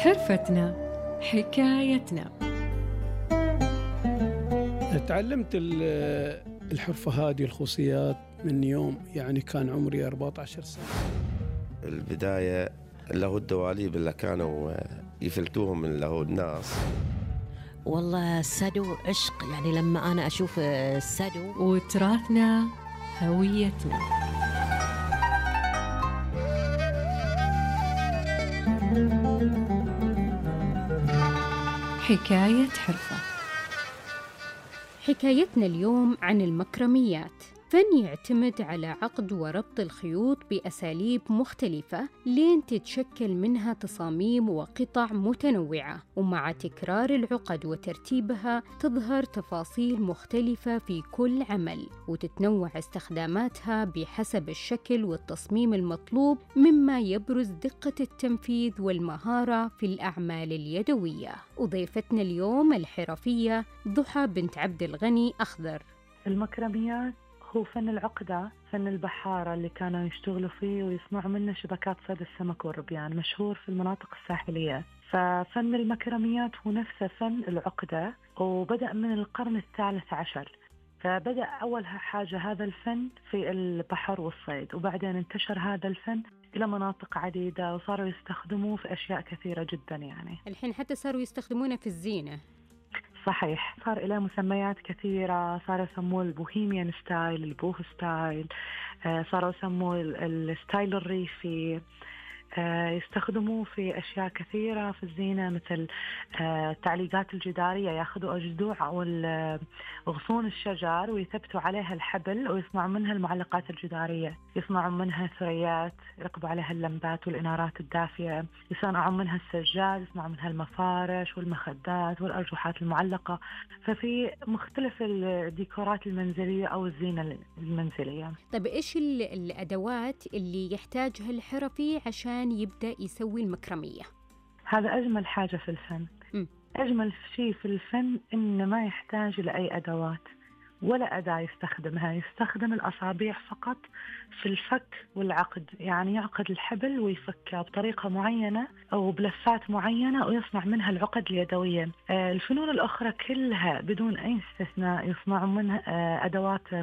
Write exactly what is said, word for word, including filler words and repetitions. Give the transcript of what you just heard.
حرفتنا حكايتنا. تعلمت الحرفة هذه الخصوصيات من يوم يعني كان عمري أربعة عشر سنة. البداية له الدواليب اللي كانوا يفلتوهم من له الناس. والله السدو عشق، يعني لما أنا أشوف السدو. وتراثنا هويتنا. حكاية حرفة. حكايتنا اليوم عن المكرميات، فن يعتمد على عقد وربط الخيوط بأساليب مختلفة لين تتشكل منها تصاميم وقطع متنوعة، ومع تكرار العقد وترتيبها تظهر تفاصيل مختلفة في كل عمل، وتتنوع استخداماتها بحسب الشكل والتصميم المطلوب، مما يبرز دقة التنفيذ والمهارة في الأعمال اليدوية. وضيفتنا اليوم الحرفية ضحى بنت عبد الغني أخضر. المكرميات هو فن العقدة، فن البحارة اللي كانوا يشتغلوا فيه ويصنعوا منه شبكات صيد السمك والربيان، مشهور في المناطق الساحلية. ففن المكرميات هو نفسه فن العقدة، وبدأ من القرن الثالث عشر. فبدأ أول حاجة هذا الفن في البحر والصيد، وبعدين انتشر هذا الفن إلى مناطق عديدة وصاروا يستخدموه في أشياء كثيرة جدا. يعني الحين حتى صاروا يستخدمونه في الزينة. صحيح، صار إليه مسميات كثيرة، صاروا يسموه البوهيميان ستايل، البوه ستايل، آه صاروا يسموه الستايل الريفي. آه يستخدموه في أشياء كثيرة في الزينة، مثل آه التعليقات الجدارية، يأخذوا أجذوع أو غصون الشجر ويثبتوا عليها الحبل ويصنعوا منها المعلقات الجدارية، يصنعوا منها ثريات يركبوا عليها اللمبات والإنارات الدافية، يصنعوا منها السجاد، يصنعوا منها المفارش والمخدات والأرجوحات المعلقة. ففي مختلف الديكورات المنزلية أو الزينة المنزلية. طيب إيش الأدوات اللي يحتاجها الحرفي عشان يبدأ يسوي المكرمية؟ هذا أجمل حاجة في الفن. م. أجمل شيء في الفن إنه ما يحتاج لأي أدوات ولا أداة يستخدمها، يستخدم الأصابع فقط في الفك والعقد، يعني يعقد الحبل ويفكها بطريقة معينة أو بلفات معينة ويصنع منها العقد اليدوية. الفنون الأخرى كلها بدون أي استثناء يصنعون منها أدوات